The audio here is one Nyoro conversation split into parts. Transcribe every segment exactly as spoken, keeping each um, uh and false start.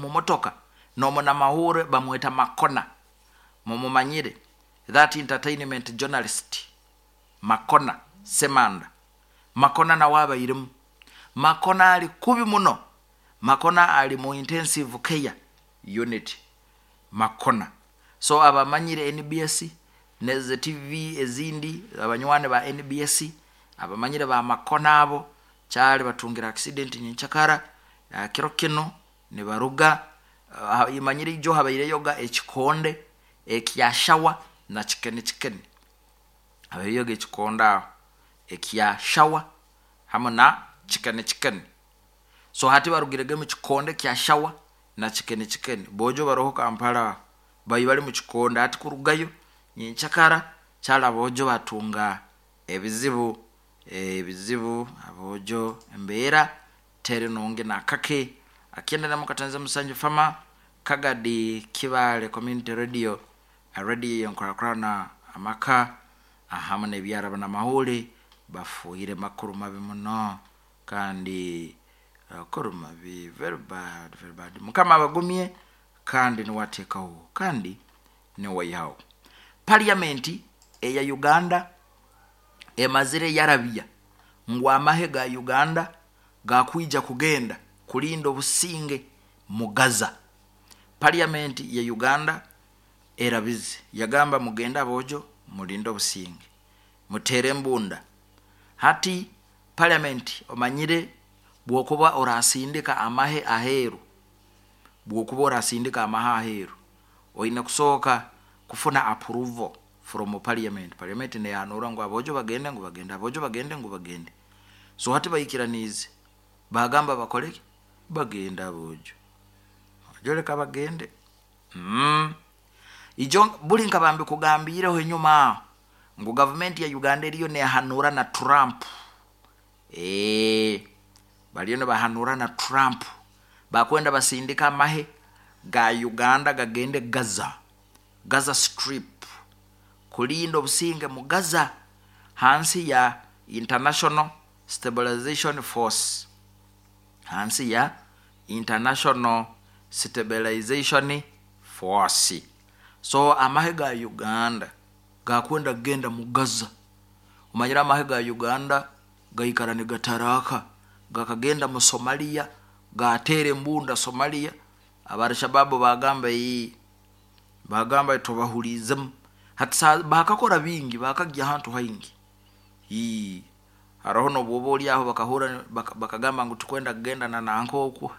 Omu motoka n'omunamahurre bamweta Makona, mumumanyire, that entertainment journalist Makona Semanda. Makona nawe abairemu. Makona ali kubi muno. Makona ali mu intensive care unit, Makona. So abamanyire N B S neze T V ezindi, abanywani ba N B S abamanyire ba Makona abo, kyali batungira accident nyenkyakara uh, kiro kino nibaruga uh, imanyire ijo habaireyoga ekikonde ekya shawa na chicken chicken habaireyoga ekikonde aho ekya shawa hamu na chicken chicken. So hati barugirege mu kikonde kya shawa na chicken chicken. Bojo baroho Kampala, bayi bali mu kikonde. Hati kurugayo nyenkyakara kyali abojo batunga ebizibu ebizibu Abojo embeera teri nungi nakake. Akyenda na mukatanza musanju fama Kagadi Kibale Community Radio, radio yenkurakurana amaka ahamu n'ebyaraba n'amahuri bafuire makuru mabi muno, kandi makuru mabi, very bad, very bad. Mukama abagumye, kandi niwateekaho kandi niwaihaho. Parliament eya Uganda emazire yarabya ngu amahe ga Uganda gakwija kugenda kulinda obusinge mu Gaza. Parliament ya Uganda erabize yagamba, "Mugende abojo, mulinde obusinge, mutere embunda." Hati parliament, omanyire bwokuba orasindika amahe aheeru, bwokuba orasindika amahe aheeru, oine kusooka kufuna approval from parliament. Parliament neyanura ngu abojo bagende, ngu bagende, abojo bagende, ngu bagende. So hati baikiraniize, bagamba bakoleki? Bagende abojo, joleka bagende mm. Ijo buli nkabambi kugambiireho enyuma aho ngu gavumenti ya Uganda eriyo nehanura na Trump. e, baliyo nibahanura na Trump, bakwenda basindika amahe ga Uganda gagende Gaza, Gaza Strip, kulinda obusinge mu Gaza hansi ya International Stabilization Force, hansi ya International Stabilization Force. So amahe ga Uganda gakwenda kugenda mu Gaza. Omanyire amahe ga Uganda gaikara nigataraka, gakagenda mu Somalia, gatera embunda Somalia. Abarshababu bagamba iyi, bagamba tubahurizemu. Hati bakakora bingi, bakagya ahantu haingi. Ii haroho nobwoba oli aho bakahura bakagamba ngu tukwenda kugenda na nanka okwo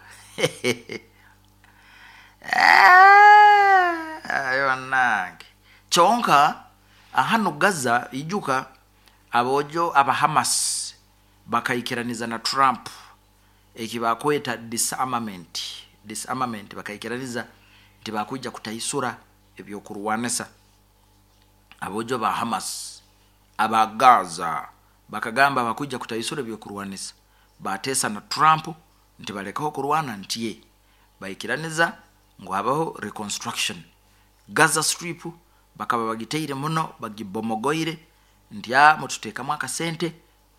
ayo nange. Kyonka ahano Gaza, ijuka abojo aba Hamas bakaikiraniza na Trump eki bakweta disarmament. Disarmament, bakaikiraniza nti bakwija kutaisura ebyokurwanisa. Abojo ba Hamas aba Gaza bakagamba bakwija kutaisura ebyokurwanisa. Batesa na Trump nti balekaho kurwana, ntiye baikiraniza ngu habaho reconstruction. Gaza Strip bakaba bagiteire muno, bagibomogoire, nti a mututeekamu akasente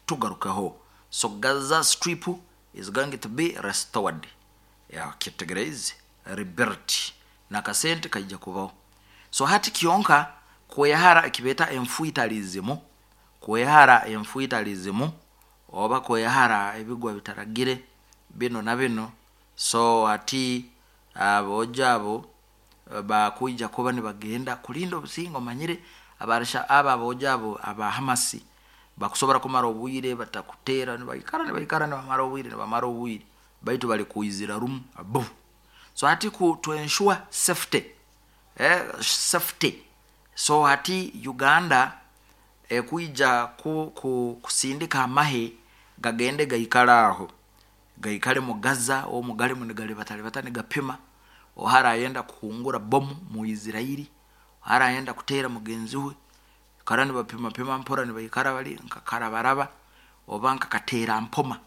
tugarukeho. So Gaza Strip is going to be restored, kitegereze, rebuilt, nakasente kaija kubaho. So hati kyonka kwehara ekibeta enfuitalism, kwehara enfuitalism oba kwehara ebigwa bitaragire bino na bino. So ati abojo abo bakwija kuba nibagenda kulinda obusinge. Omanyire abarisha aba abojo abo aba Hamasi bakusobora kumara obwire batakutera, nibaikara nibaikara nibamara obwire nibamara obwire baitu bali kuizira rumu abu. So hati ku to ensure safety, eh, safety. So hati Uganda ekwija ku, ku, kusindika amahe gagende gaikara aho, gaikale mu Gaza omu galimu nigalibatalibata, nigapima ohara ayenda kuhungura bomu mu Israeli, ohara ayenda kuteera mugenzi we kara, nibapima pima mpora, nibaikara bali nkakarabaraba oba nkakateera mpoma.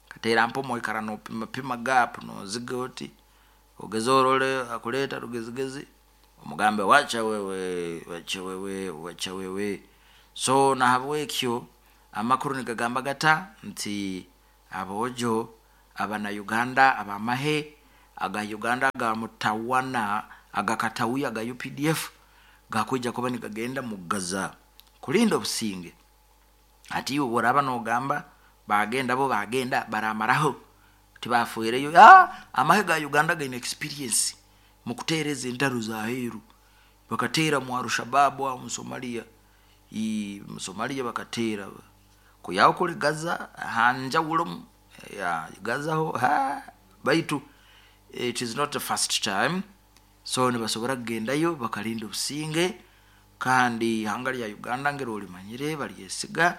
Kateera mpoma oikara nopima pima gap, noziga oti ogeze orole akuleta rugezigezi, omugambe, "Wacha wewe, wacha wewe, wacha wewe." So nahabwekyo amakuru nigagamba gata nti abojo abana Uganda abamahe aga Uganda aga mutawana agakatawi aga U P D F gakwija kuba nigagenda mu Gaza kulinda obusinge. Ati iwe boraba nogamba bagenda bo bagenda baramaraho tibafuireyo. Ah, amahe ga Uganda gaine experience mu kutereza entaro za heru, bakatera mu Al-Shabaab wa mu Somalia, i mu Somalia bakatera kuyaho kuli Gaza hanjawulo ya Gaza ho ha baitu it is not the first time. So nibasobora kugendayo bakalinda obusinge, kandi ihanga lya Uganda ngero limanyire balyesiga,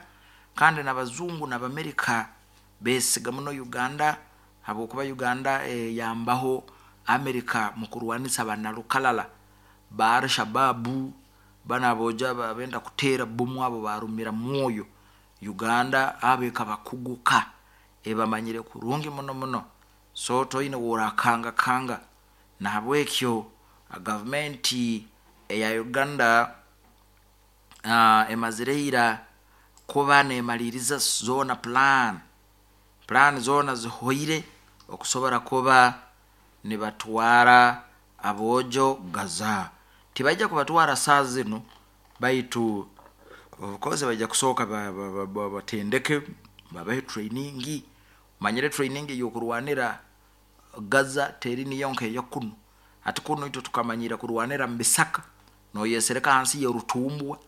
kandi n'abazungu n'Abamerika besiga muno Uganda habwokuba Uganda e, yambaho Amerika mu kurwanisa banalukalala ba Al-Shabaab banaboja babenda kutera bomu abo barumira mwoyo. Uganda abeka bakuguka ebamanyire kurungi muno muno. So toine worakanga kanga na habwekyo gavumenti eya Uganda uh, emazireira kuba nemaliriza zona plan plan zona zihoire okusobora kuba nibatwara abojo Gaza. Tibaija kubatwara saa zino, baitu of course baija kusooka batendeke babahe training. Manyire training yokurwanira Gaza teri niyo nke yakuno. Ati kuno itwe tukamanyira kurwanira mbisaka noyesereka hansi y'orutumbwa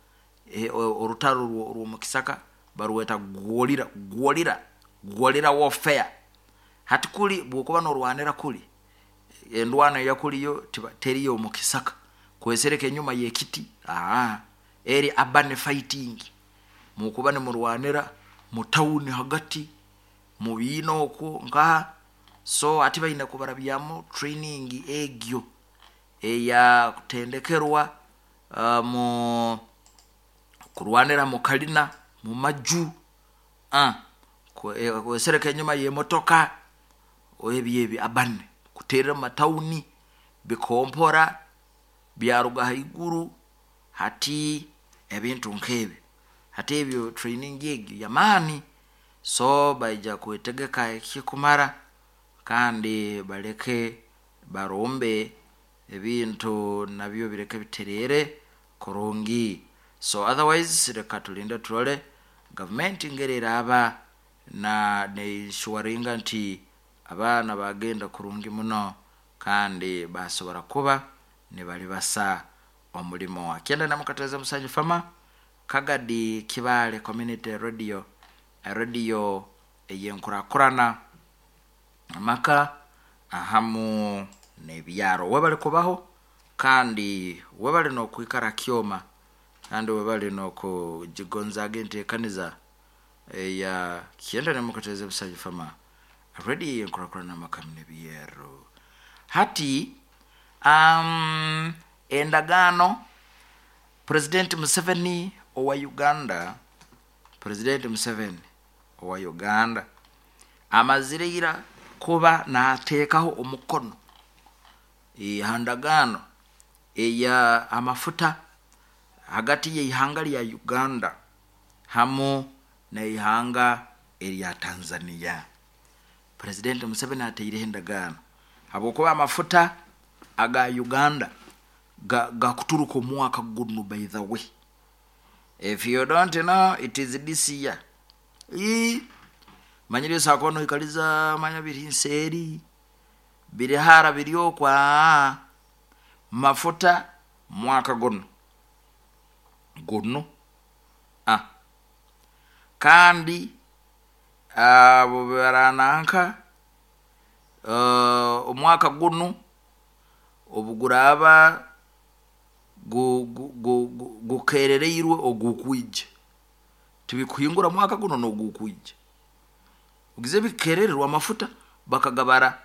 e, orutaro rwo mukisaka baruweta gwolira gwolira gwolira warfare. Hati kuli bwokuba norwanira kuli endwana yakuliyo teriyo mukisaka kwesereka enyuma yekiti ah eri urban fighting mukuba ne murwanira mu town hagati mu bino okwo nka. So ati bayina kubarabyamu training egyo eya kutendekerwa uh, mu kurwanira mu kalina mu maju ah kwesereka enyuma y'emotoka ebyebi abane kuterera mu matauni bikompora byaruga haiguru hati ebintu nkebe hati ebyo training egyo yamani. So baija kwetegeka ekikumara kandi baleke barombe ebintu nabyo bireke biterere kurungi. So otherwise reka tulinde tulole government ngerera aba na neishuwaringa nti abaana bagenda kurungi muno kandi basobora kuba nibali basa omulimo. Akienda na mukateza Musanju Fama Kagadi Kibale Community Radio, radio eyenkurakurana amaka ahamu nebyaro. Webale kubaho kandi webale no kwikara kyoma kandi webale no kujigonzaga entekaniza eya kienda na mukateza Musanju Fama radio eyenkurakurana amaka nebyaro. Hati um, endagano President Museveni owa Uganda, President Museveni owa Uganda amazireira kuba nateekaho omukono ehandagano eya amafuta hagati y'ihanga lya Uganda hamu n'ihanga erya Tanzania. President Museveni ateireho endagano habwokuba amafuta aga Uganda ga, ga kuturuka omwaka guno. By the way, if you don't know, it is this year. I manyire sakono ikaliza manya biri nseri biri hara biri kwa mafuta mwaka guno guno ah kandi abo barananka uh, omwaka guno obuguraba gukerereirwe ogukwije tibikuhingura mwaka guno nogukwije ugize bikerererwa amafuta bakagabara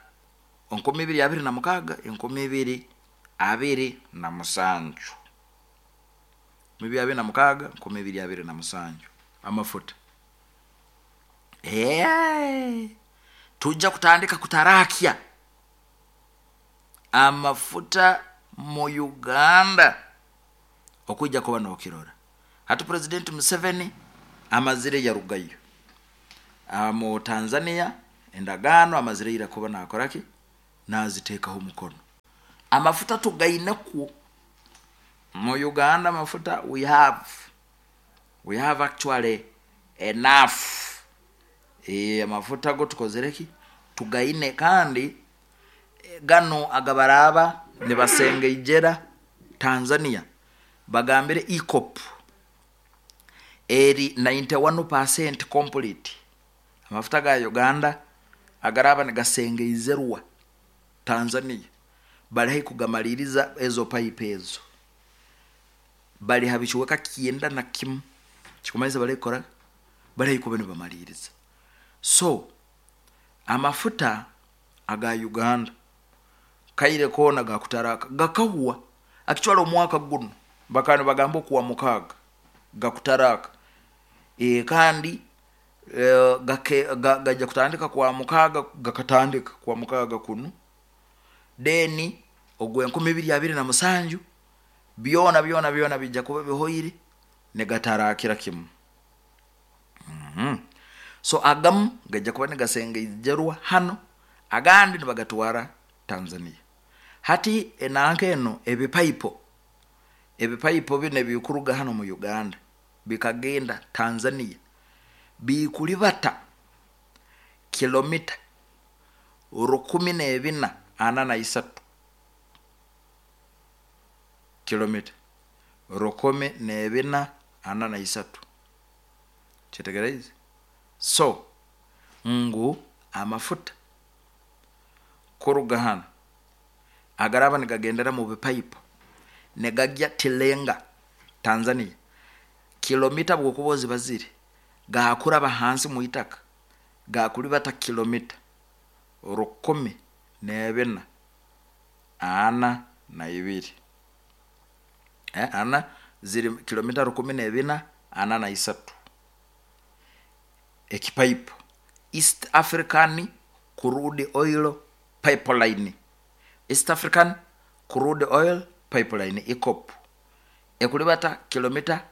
enkumi ibiri abiri na mukaga enkumi ibiri abiri na musanju mibi abiri na mukaga enkumi ibiri abiri na musanju amafuta. Eh, tujja kutandika kutarakia amafuta mu Uganda okujja kuba nokirora. Hati President Museveni amazire yarugayo mu Tanzania endagano amazire ira kuba nakoraki Naziteekaho omukono. Amafuta tugainekwo mu Uganda. Amafuta we have we have actually enough. E, amafuta go tukozere ki, tugaine. Kandi gano agabaraba nibasengeijera Tanzania, bagambire EACOP eri ninety-one percent complete. Amafuta ga Uganda agaraba nigasengeizerwa Tanzania bali hai kugamaliriza. Ezo pipe ezo bali ha bikiweka kyenda na kimu, kikumanyisa bali kukora, bali hai kuba nibamaliriza. So amafuta aga Uganda kaire koona gakutaraka gakahwa. Akitwala omwaka guno bakaba nibagamba okuwa mukaaga gakutaraka. e, kandi e, gake, ga, gajja kutandika kwa mukaaga, gakatandika kwa mukaaga kuno, then ogwenkumi ibiri abiri na musanju byona byona byona bijja kuba bihoire negatarakira kimu. mm -hmm. So agamu gajja kuba nigasengeijerwa hano, agandi nibagatwara Tanzania. Hati enanka eno, ebipaipo ebipaipo bino ebikuruga hano mu Uganda bikagenda Tanzania bikulibata kilomita rukumi n'ebina ana na isatu, kilomita rukumi n'ebina ana na isatu. Kyetegereze so ngu amafuta kuruga hano agaraba nigagendera mu bipaipo negajya Tilenga Tanzania, kilomita bwokuba ozibazire gakuraba hansi mu itaka gakulibata kilomita rukumi n'ebina ana na ibiri, eh, ana ziri kilomita rukumi n'ebina ana na isatu. Ekipaipo East African Crude Oil Pipeline, East African Crude Oil Pipeline, EACOP, ekulibata kilomita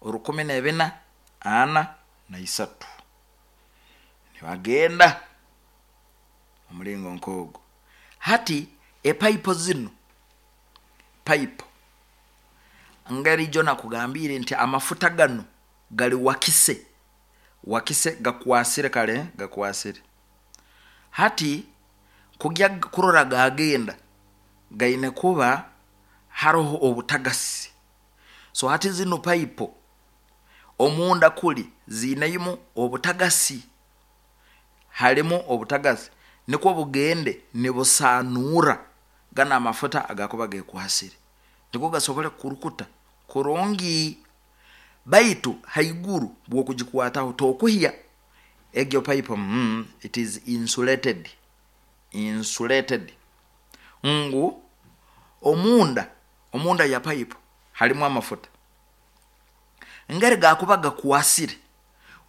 rukumi n'ebina ana na isatu. Nibagenda omulingo nk'ogwo. Hati epaipo zino, paipo ngeri jo nakugambire nti amafuta gano gali wakise wakise, gakwasire kale, gakwasire. Hati kugya kurora gagenda gaine kuba haroho obutagasi. So hati zino paipo omunda kuli ziineimu obutagasi, halimu obutagasi, nikwo bugende nibusanuura gana amafuta agakuba gekwasire, nikwo gasobole kurukuta kurungi. Baitu haiguru bwokugikwataho tokuhya egyo pipe. mm, it is insulated insulated ngu omunda omunda ya pipe halimu amafuta ngeri gakuba gakwasire,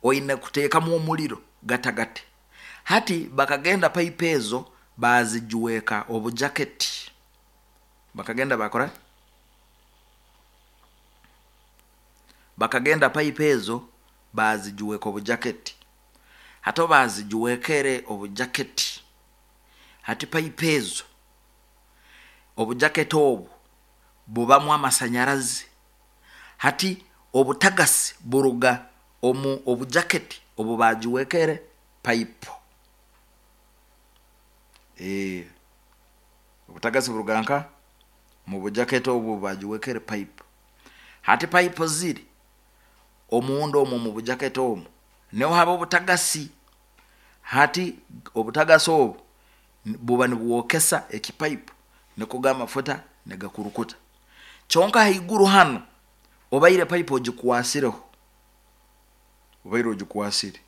oine kuteekamu omuliro gatagate. Hati bakagenda pipe ezo bazijuweka obujaketi, bakagenda bakora, bakagenda pipe ezo bazijuweka obujaketi. Hati bazijuwekere obujaketi, hati pipe ezo obujaketi obwo bubamu amasanyarazi. Hati obutagasi buruga omu obujaketi obu bagiwekere pipe. e, obutagasi buruga nka mu bujaketi obu bagiwekere pipe. Hati pipe ziri omunda omwo mu bujaketi omwo niho haba obutagasi. Hati obutagasi obu buba nibwokesa ekipaipu, niko amafuta negakurukuta. Kyonka haiguru hano obaire pipe ogikwasireho, obaire ogikwasire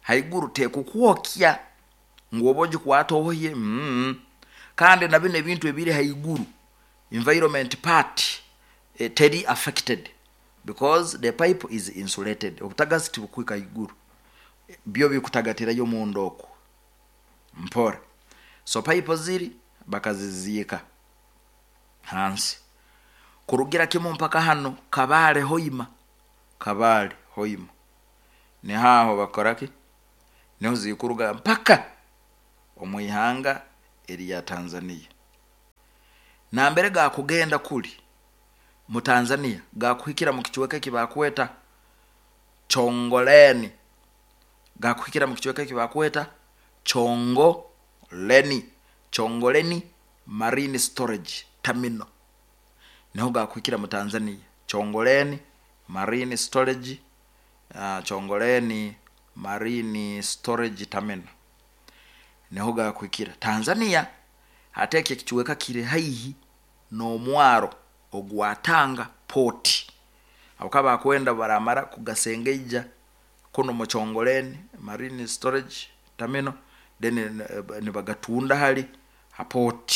haiguru tekukwokya ngu oba ogikwata ohoye. mm. Kandi na bino ebintu ebiri haiguru, environment part, eh, teri affected because the pipe is insulated. Obutagasi tibukwika haiguru, byo bikutagatirayo munda okwo mpora. So pipe ziri bakaziziika hansi kurugira kimu mpaka hano Kabale Hoima. Kabale Hoima nihaho bakoraki, niho zikuruga mpaka omu ihanga. eri ya Tanzania. Nambere gakugenda kuli mu Tanzania gakuhikira mu kicweka eki bakweta Chongoleni, gakuhikira mu kicweka eki bakweta Chongoleni, Chongoleni Marine Storage Terminal, niho gakuhikira mu Tanzania. Chongoleni Marine Storage, uh, Chongoleni Marine Storage Terminal niho gakuhikira Tanzania. Hati eki ekicweka kiri haihi n'omwaro ogwa Tanga Port, abo bakwenda baramara kugasengeija kuno mu Chongoleni Marine Storage Terminal, then nibagatunda hali ha port,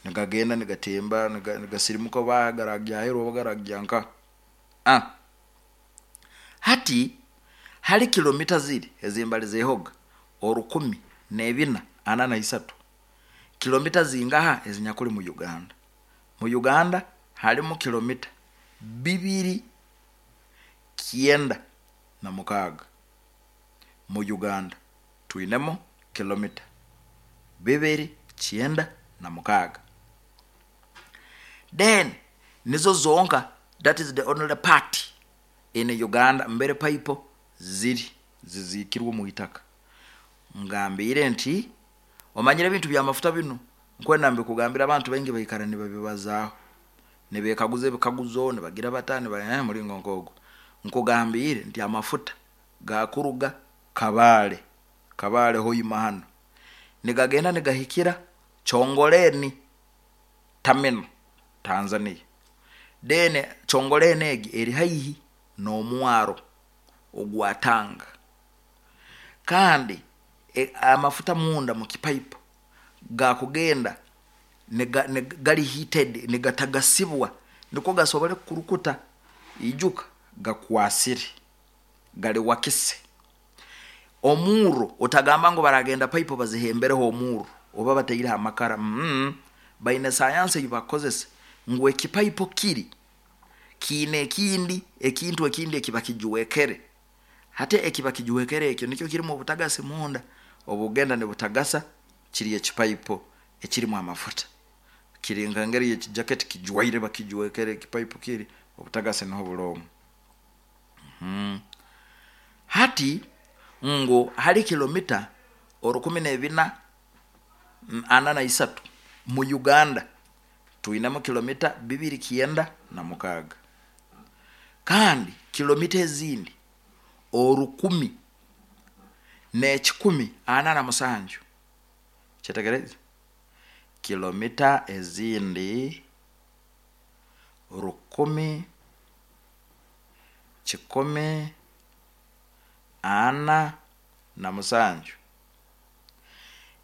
nigagenda nigatemba nigasirimuka bagaragyaherwa bagaragya nka ah. Hati hali kilomita ziri ezimbali zehoga orukumi n'ebina ana na isatu, kilomita zingaha ezinyakuli mu Uganda? Mu Uganda halimu kilomita bibiri kyenda na mukaaga. Mu Uganda twinemo kilomita bibiri kyenda na mukaaga, then nizo zonka, that is the only part in Uganda mbere paipo ziri zizikirwe mu itaka. Ngambire nti omanyire ebintu by'amafuta bino, nkwenda mbikugambira abantu baingi baikara nibabibazaaho, nibekaguza ebikaguzo, nibagira bata niba eh, mulingo nkogo. Nkugambire nti amafuta gakuruga Kabale, Kabale hoima hano, nigagenda nigahikira Chongoleni Terminal Tanzania. Then Chongoleni egi eri haihi n'omwaro ogwa Tanga, kandi e, amafuta munda mu kipaipo gakugenda niga, niga, gali heated, nigatagasibwa niko gasobole kurukuta ijuka gakwasire gali wakise omuro. Otagamba ngo baragenda paipo bazihembereho omuro oba bataire amakara, mm, baine sayansi eyibakozesa ngu ekipaipo kiri kiine ekindi ekintu ekindi ekiba kijuwekere. Hati ekiba kijuwekere ekyo nikyo kirimu obutagasi munda, obugenda nibutagasa kiri ekipaipo ekirimu amafuta, kiri nka ngeri yekijaketi kijwaire bakijuwekere ekipaipo kiri obutagasi niho bulomu. Mm. Hati ngu hali kilomita orukumi n'ebina ana na isatu mu Uganda twinemu kilomita bibiri kyenda na mukaaga, kandi kilomita ezindi orukumi n'ekikumi ana na musanju. Kyetegereze, kilomita ezindi rukumi kikumi ana na musanju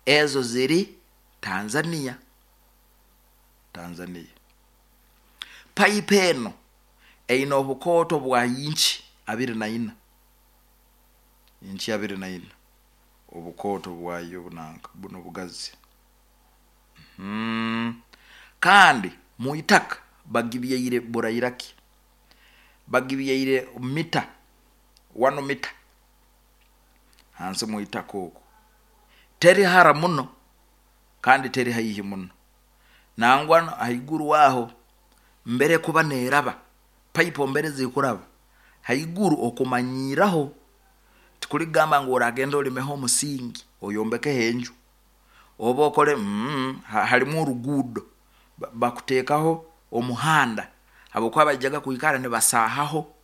ezo ziri Tanzania. Tanzania paipu eno eine obukooto bwa inchi abiri na ina, inchi abiri na ina obukooto bwayo bunanka buno bugazi. Mm. Kandi muitaka bagibyaire burairaki, bagibyaire mita wano mita hansi muitaka oku, teri hara muno kandi teri haihi muno, nangwa haiguru waho mbere kuba neraba paipo mbere zikuraba haiguru okumanyiraho, tikuligamba ngu oragenda olimeho omusingi oyombekeho enju oba okole mm, halimu oruguudo bakuteekaho omuhanda habwokuba baijaga kwikara nibasahaho,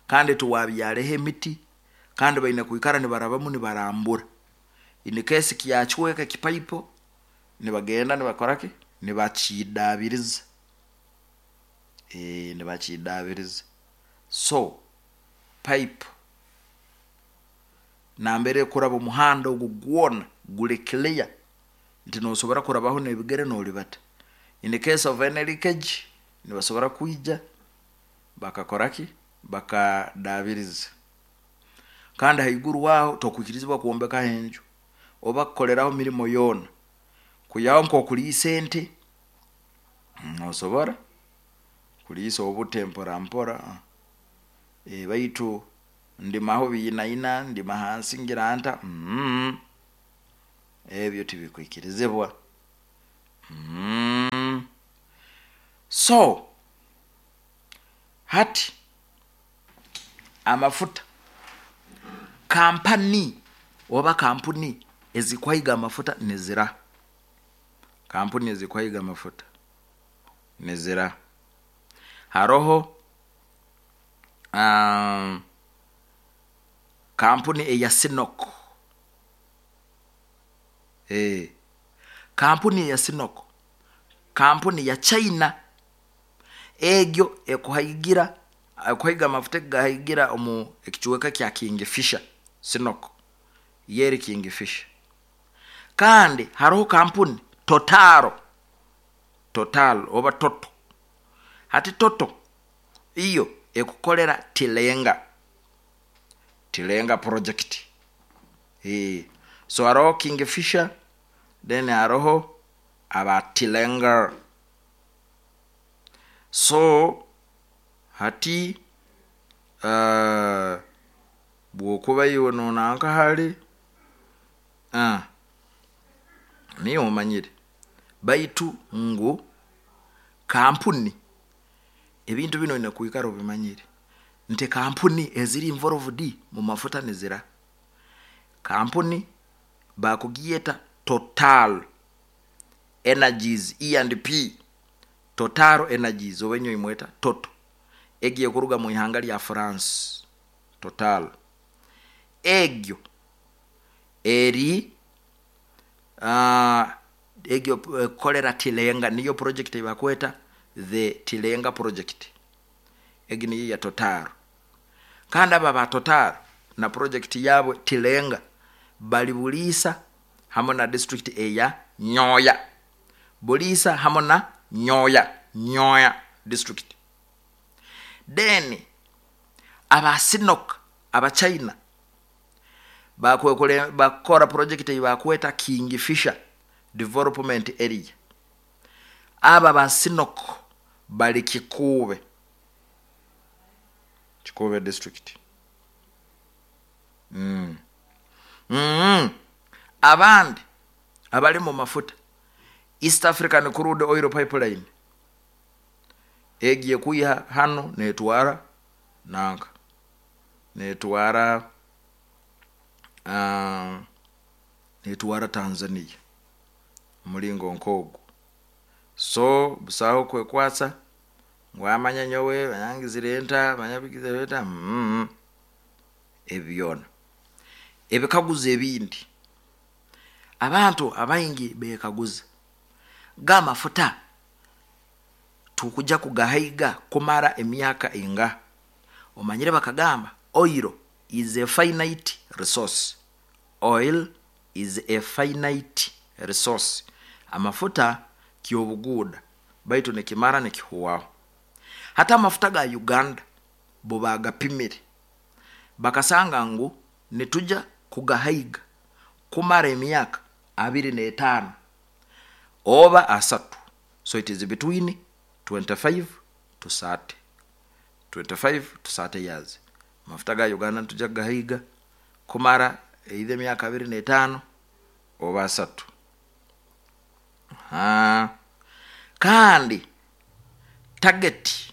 kandi tuwabyareho emiti, kandi baine kwikara nibarabamu nibarambura. In case kyachweka ekipaipo nibagenda nibakoraki nibakidabiriza, e, nibakidabiriza. So pipe nambere kuraba omuhanda ogu gwona guli clear nti nosobora kurabaho n'ebigere n'olibata. In case of any leakage nibasobora kwija bakakoraki bakadabiriza. Kandi haiguru waho tokwikirizibwa kwombekaho enju oba kukoleraho mirimo yoona, kuyaho nk'okuliisa ente nosobora kuliisa obute mpora mpora, e, baitu ndimaho biinaina ndima hansi ngira nta mm, ebyo tibikwikirizibwa. Mm. So hati amafuta, kampani oba kampuni ezikwaiga amafuta nizira, kampuni ezikwaiga amafuta nizira. Haroho um, kampuni eya Sinok. Eh, kampuni eya Sinok, kampuni ya China. Egyo ekuhaigira, ekuhaiga amafuta, egahaigira omu ekicweka kya Kingfisher. Sinok yeri Kingfisher. Kandi haroho kampuni Total, Total oba Toto. Hati Toto iyo ekukolera Tilenga, Tilenga project. E. So haroho Kingfisher, then haroho aba Tilenga. So hati uh, bwokuba iwe nonanka hali uh, niyo omanyire, baitu ngu kampuni, ebintu bino oine kwikara obimanyire nti kampuni eziri involved mu mafuta nizira. Kampuni bakugieta Total Energies, E and P, Total Energies, oba enyo imweta Toto, egiye kuruga mu ihanga lya France. Total egyo eri uh, egyo ekolera Tilenga, niyo project ebakweta the Tilenga project. Egi niyo ya Total. Kandi aba ba Total na project yabo Tilenga bali Buliisa hamwe na district eya Nyoya. Buliisa hamwe na Nyoya, Nyoya district. Then aba Sinok, aba China, bakwekole bakora project bakweta Kingfisher Development Area. Aba ba Sinok bali Kikuube, Kikuube district. mm. Mm. Abandi abali mu mafuta, East African Crude Oil Pipeline, egiye kwiha hano netwara nanka, netwara uh, netwara Tanzania, mulingo nkogu. So busaho kwekwatsa ngu amanya nyowe banyangizire nta banyabigizire nta. mm. Ebyona ebikaguzo ebindi abantu abaingi bekaguza, gamafuta tukuja kugahaiga kumara emyaka inga? Omanyire bakagamba oil is a finite resource. Oil is a finite resource. Amafuta kyobuguda, baitu nikimara nikihuwaho. Hata amafuta ga Uganda bo bagapimire, bakasanga ngu nituja kugahaiga kumara emyaka abiri n'etaano oba asatu. So it is between twenty-five to thirty, twenty-five to thirty years. Amafuta ga Uganda nituja kugahiga kumara either emyaka abiri n'etaano oba asatu. Ha. Kandi target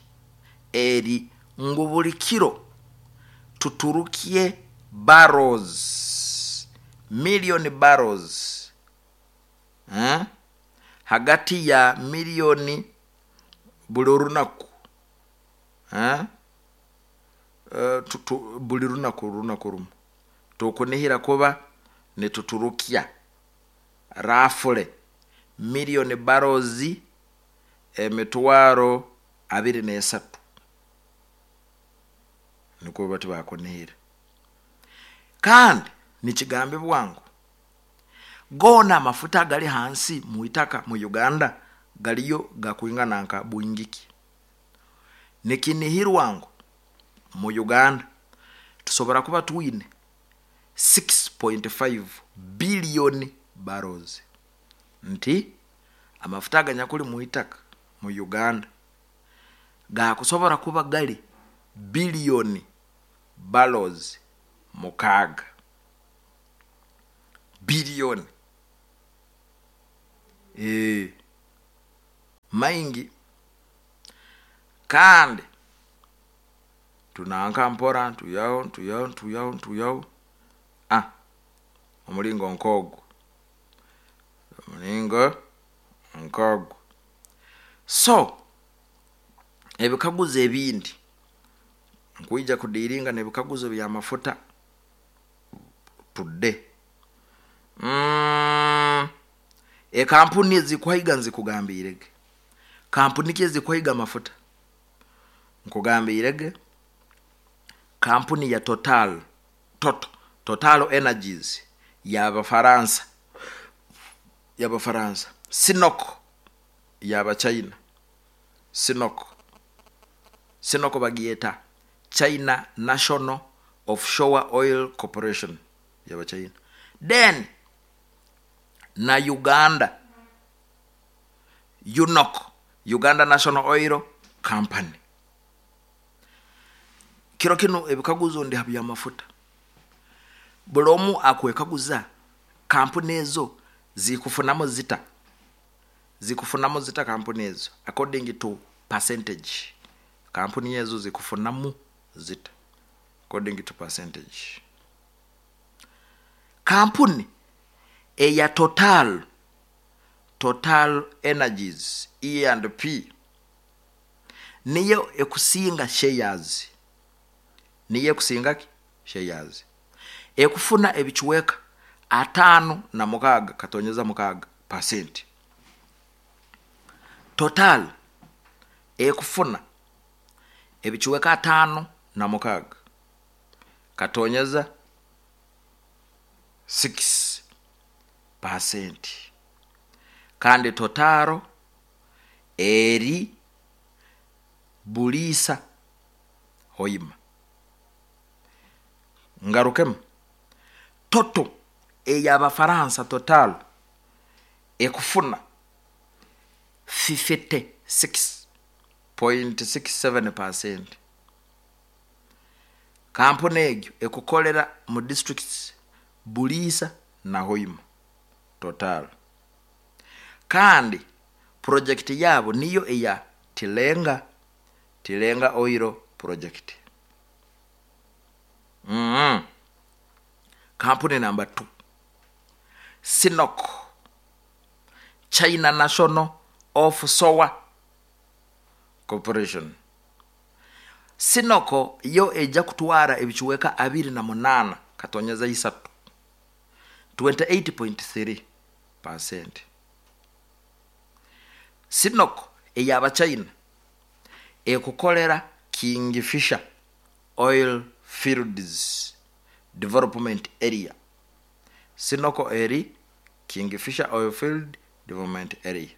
eri ngu buli kiro tuturukie barrels, million barrels, eh? Hagati ya milioni buli runaku, eh? Uh, tu, tu, buli runaku, runaku rumu tukunihira kuba nituturukia rafule milioni barrels emitwaro abiri n'esatu, nikwo bati bakunihira. Kandi nikigambibwa ngu gona amafuta gali hansi mu itaka mu Uganda galiyo gakwingana nka bwingiki. Nikinihirwa ngu mu Uganda tusobora kuba twine six point five billion barrels, nti amafuta aganyakuli mu itaka mu Uganda gakusobora kuba gali billion barrels mukaaga. Billion. Eh. Maingi. Kandi tunanka mpora ntuyaho ntuyaho ntuyaho ntuyaho. Ah, omulingo nkogwo, omulingo nkogwo. So ebikaguzo ebindi nkwija kudiiringa n'ebikaguzo by'amafuta tudde. Mm, ekampuni ezikuhaiga nzikugambiirege. Kampuni ki ezikuhaiga amafuta? Nkugambiirege kampuni ya Total, Total, Total Energies y'Abafaransa, y'Abafaransa, Sinoko y'Abachina, Sinoko, Sinoko bagyeta China National Offshore Oil Corporation y'Abachina. Then na Uganda U N O C, Uganda National Oil Company. Kiro kinu ebikaguzo ndi ha by'amafuta. Buli omu akwekaguza kampuni ezo zikufunamu zita, zikufunamu zita kampuni ezo according to percentage. Kampuni ezo zikufunamu zita according to percentage? Kampuni eya Total, Total Energies E and P, niyo ekusinga shares, niyo ekusinga ki shares, ekufuna ebicuweka ataano na mukaaga katonyeza mukaaga percent. Total ekufuna ebicuweka ataano na mukaaga katonyeza six percent. Kandi Total eri Buliisa, Hoima. Ngarukemu, Total ey'Abafaransa, Total ekufuna fifty-six point six seven percent. Kampuni egyo ekukolera mu districts Buliisa na Hoima, Total. Kandi project yabo niyo eya Tilenga, Tilenga Oil Project. mm -hmm. Kampuni number two, Sinok, China National Offshore Corporation. Sinoko yo ejja kutwara ebicuweka abiri na munaana katonyeza isatu, twenty-eight point three percent. Sinoko ey'Abachina ekukolera Kingfisher Oil Fields Development Area. Sinoko eri Kingfisher Oil Field Development Area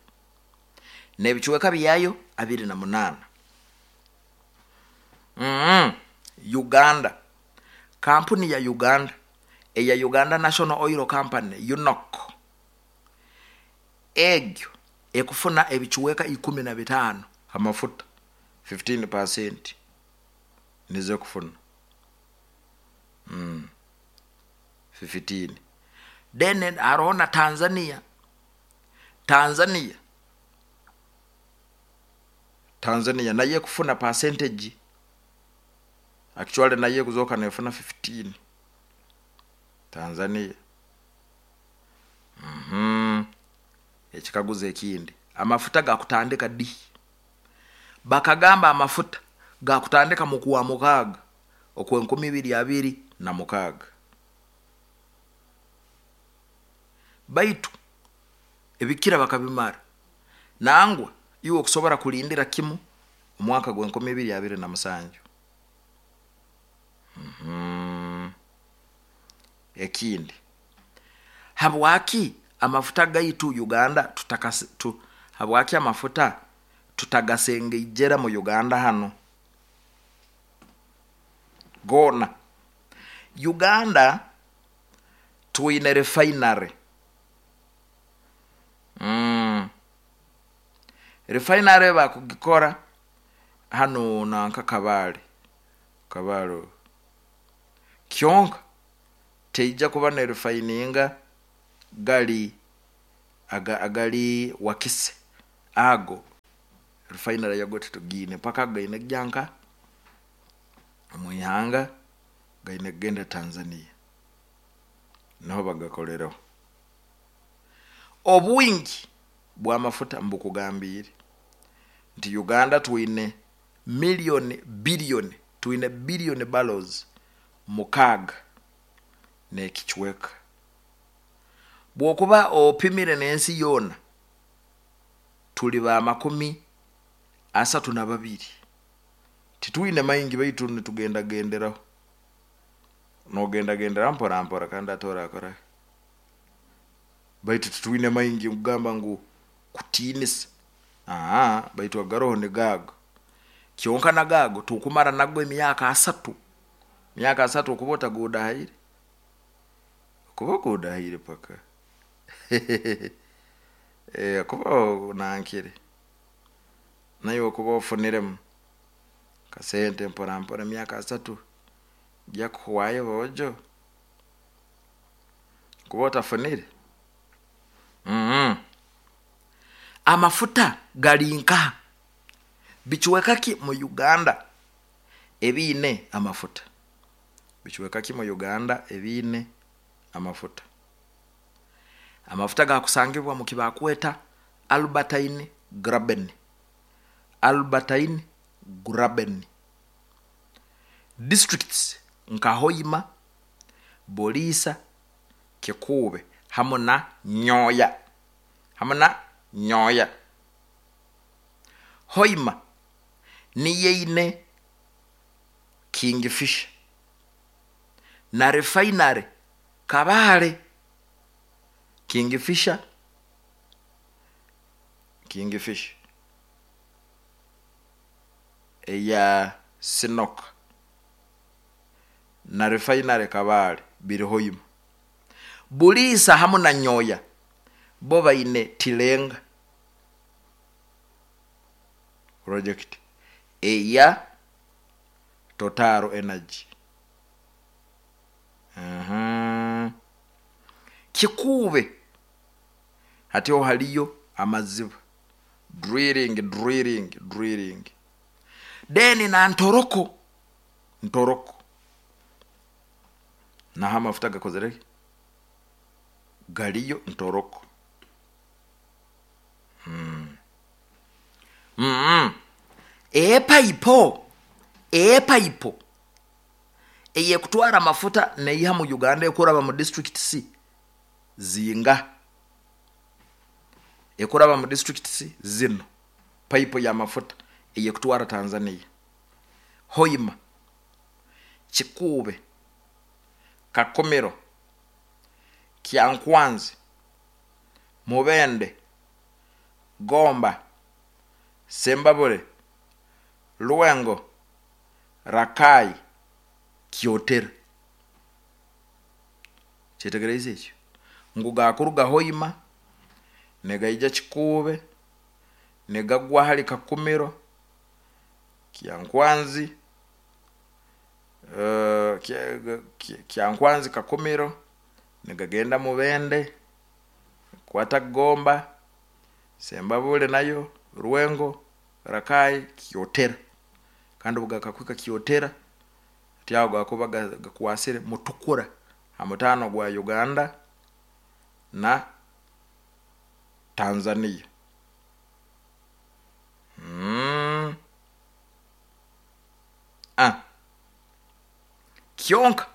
n'ebicuweka byayo abiri na munaana. mm -hmm. Uganda, kampuni ya Uganda eya Uganda National Oil Company, U N O C, egyo ekufuna ebicuweka ikumi na bitaano amafuta, fifteen percent nizo ekufuna. mm. fifteen. Then haroho na Tanzania. Tanzania, Tanzania naye ekufuna percentage, actually naye ekuzoka nefuna fifteen, Tanzania. mm -hmm. Ekikaguzo ekindi, amafuta gakutandika ddi? Bakagamba amafuta gakutandika mu kuwa mukaaga okwenkumi ibiri abiri na mukaaga, baitu ebikira bakabimara. Nangwa iwe okusobora kulindira kimu omwaka gw'enkumi ibiri abiri na musanju. mm -hmm. Ekindi, habwaki amafuta gaitu Uganda tutakase, tu, habwaki amafuta tutagasengeijera mu Uganda hano gona? Uganda twine refinery. mm. refinery bakugikora hano nanka Kabale, Kabale kyonka teija kuba ne refininga gali aga, agali Wakise ago. Refinery yago titugiine paka gaine kugya omwihanga, gaine kugenda Tanzania, niho bagakolereho. Obwingi bw'amafuta mbukugambiire nti Uganda twine miliyoni biliyoni twine biliyoni barrels mukaaga n'ekicweka. Bw'okuba opimire n'ensi yoona tuli ba makumi asatu na babiri. Titwine maingi, baitu nitugendagenderaho, nogendagenderaho mpora mpora, kandi ate orakora, baitu titwine maingi kugamba ngu kutiinisa, aa baitu agaroho nigaago kyonka, nagaago tukumara nago emyaka asatu. Myaka asatu okuba otagudahaire, okuba ogudahaire paka e, kuba onankire naye okuba ofuniremu kasente mpora mpora, emyaka asatu gyakuhwayo bojo kuba otafunire. mm -hmm. Amafuta gali nkaha? Bicweka ki mu Uganda ebiine amafuta? Bicweka ki mu Uganda ebiine amafuta? Amafuta gakusangibwa mu kibakweta Albertine Graben. Albertine Graben, districts nka Hoima, Buliisa, Kikuube hamu na Nyoya, hamu na Nyoya. Hoima niyo eine Kingfisher na refinery Kabale. Kingfisher, Kingfisher eya C N O C na refinery Kabale biri Hoima. Buliisa hamu na Nyoya bo baine Tilenga project eya Total Energy. uh-huh. Kikuube hatiho haliyo amaziba, drilling, drilling, drilling. Then na Ntoroko, Ntoroko naho amafuta gakozere, galiyo Ntoroko. mm. mm. epayipo epayipo eyekutwara amafuta neiha mu Uganda ekuraba mu district c zinga? Ekuraba mu district c zino, payipo y'amafuta eyekutwara Tanzania: Hoima, Kikuube, Kakumiro, Kyankwanzi, Mubende, Gomba, Sembabule, Lwengo, Rakai, Kyotera. Kyetegereze ekyo ngu gakuruga Hoima negaija Kikuube, negagwa hali Kakumiro, Kyankwanzi, uh, Kyankwanzi, Kakumiro, negagenda Mubende, kwata Gomba, Sembabule, nayo Rwengo, Rakai, Kyotera. Kandi obugakakwika Kyotera tyago gakuba gakwasire Mutukura ha mutaano gwa Uganda na Tanzania. mm. ah. Kyonka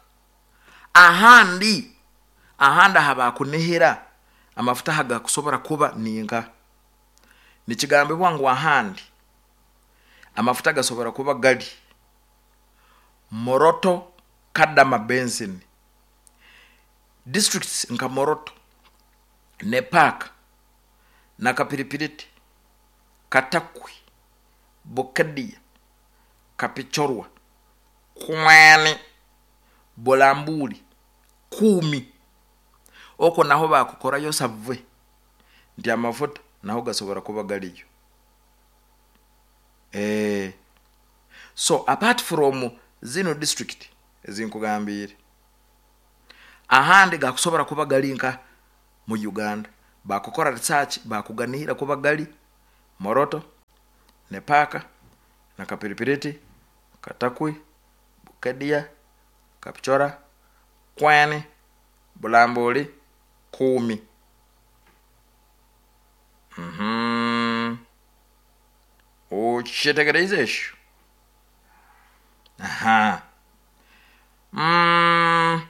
ahandi ahandi aha bakunihira amafuta hagakusobora kuba ninka, nikigambibwa ngu ahandi amafuta gasobora kuba gali Moroto Kadama Basin, districts nka Moroto, Nepak, Nakapiripiriti, Katakwi, Bukedia, Kapichorwa, Kwani, Bulambuli, Kumi. Okwo naho bakukorayo survey nti amafuta naho gasobora kuba galiyo. eh, so apart from zino district ezinkugambiire, ahandi gakusobora kuba gali nka mu Uganda bakukora research, bakuganihira kuba gali Moroto, Nepaaka, Nakapiripiriti, Katakwi, Bukedia, Kapchora, Kwani, Bulambuli, Kumi. Mhm. Okyetegereize ekyo? Aha. Mm.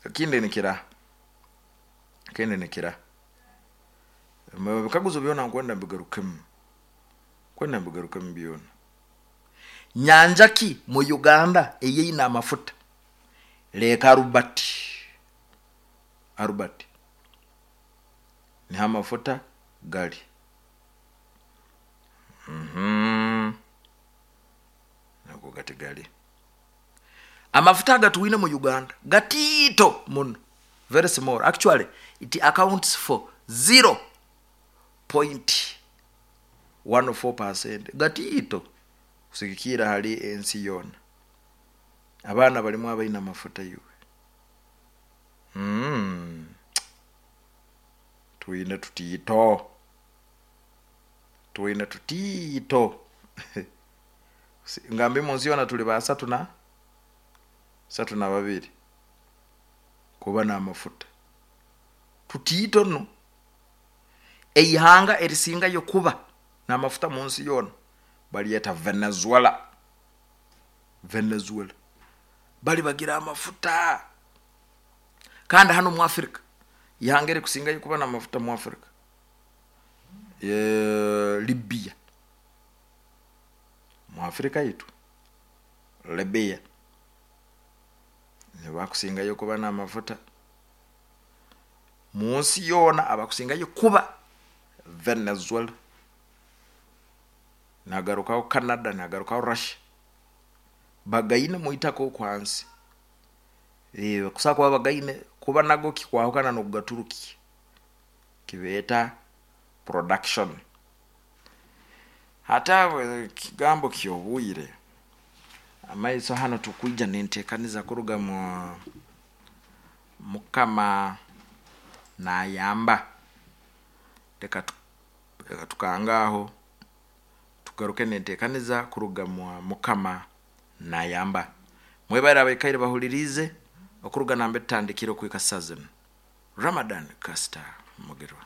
Ekindi nikira, ekindi nikira, ebikaguzo byona nkwenda mbigarukemu, nkwenda mbigarukemu byona. Nyanja ki mu Uganda eyeine amafuta? Lake Albert. Albert niho amafuta gali. Mhm. Nago gati gali amafuta agatuwine mu Uganda gatiito muno, very small. Actually it accounts for zero point one four percent, gatiito kusigikira hali ensi yoona. Abaana balimu abaine amafuta iwe. mm. Twine tutiito, twine tutiito. Ngambi munsi yoona tuli basatu na satu na babiri kuba n'amafuta, tutiito no. Eihanga erisingayo kuba n'amafuta mu nsi yoona balyeta Venezuela. Venezuela bali bagira amafuta. Kandi hano mu Afrika, ihanga erikusingayo kuba n'amafuta mu Afrika, e, Libya. Mu Afrika yitu Libya nibakusingayo kuba n'amafuta. Mu nsi yoona abakusingayo kuba Venezuela, nagarukaho Canada, nagarukaho Russia, bagaine muitaka okwansi. Eh, kusa kuba bagaine, kuba nago kikwahukana nokugaturuki kibeeta production. Hata kigambo kyobwire amaiso hano tukwija nentekaniza kuruga mu mukama nayamba. Reka tu- reka tukangaho, tugaruke nentekaniza kuruga mu mukama nayamba. Mwebare abaikaire bahulirize okuruga nambe tutandikire okwika saa zinu. Ramadan Kasita Mugerwa.